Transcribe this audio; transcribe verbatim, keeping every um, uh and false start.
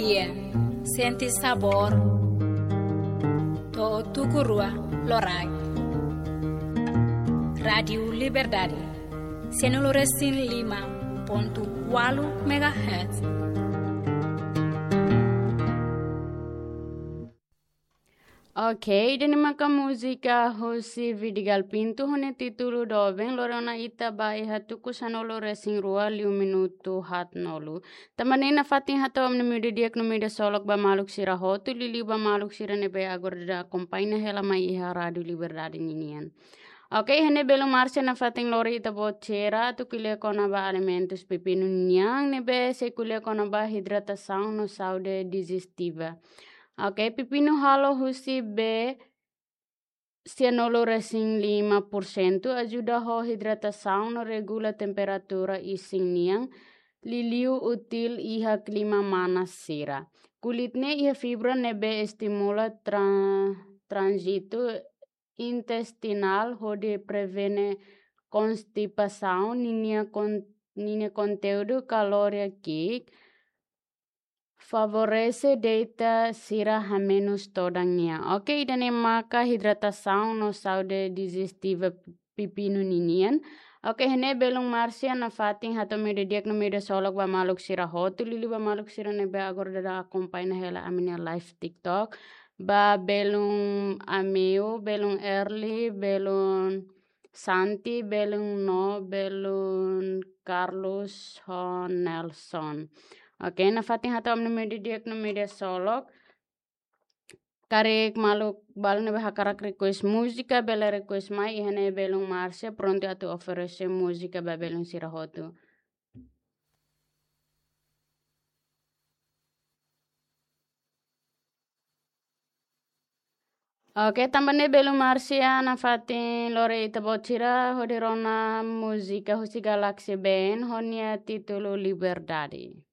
Sente sabór to'o tuku rua loraik. Rádiu Liberdade, sianulu resin lima pontu ualu megahertz. Ok, ida-ne'e maka múzika husi Vidigal Pinto, ho nia títulu Doben, lori ona ita ba iha tuku sanulu resin rua liu minutu haatnulu. Tanba ne'e nafatin hato'o ami-nia mídia di'ak no mídia solok ba maluk sira hotu, liuliu ba maluk sira ne'ebé agora daudaun akompaña hela mai iha Rádiu Liberdade ninian. Ok, iha ne'e belun Mársia nafatin lori ita-boot sira atu ko'alia kona-ba alimentus pepinu nian ne'ebé sei ko'alia kona-ba idratasaun no saúde dijestiva. Ok, pepinu halo husi bee sianulu resin lima por sentu ajuda ho idratasaun no regula temperatura isin nian, liuliu útil iha klima manas sira. Kulit ne'e iha fibra ne'ebé estimula tra-, tránzitu intestinál hodi prevene konstipasaun, ninia kon-, ninia konteúdu kalória ki'ik favorese dietu sira hamenus todan nian. Ok, ida-ne'e maka idratasaun no saúde dijestiva pepinu ninian. Ok, iha ne'e belun Mársia nafatin hato'o ami-nia mídia di'ak no mídia solok ba maluk sira hotu, liuliu ba maluk sira ne'ebé agora daudaun akompaña hela ami-nia live TikTok. Ba belun Ameu, belun Erli, belun Santi, belun No, belun Carlos, ho Nelson. Ok, nafatin hato'o ami-nia mídia di'ak no mídia solok. Karik maluk balu ne'ebé hakarak request múzika, bele request mai, iha ne'e belun Mársia prontu atu oferese múzika ba belun sira hotu. Ok, tanba ne'e belun Mársia nafatin lori ita-boot sira hodi rona múzika husi Galaxy Band, ho nia títulu Liberdade.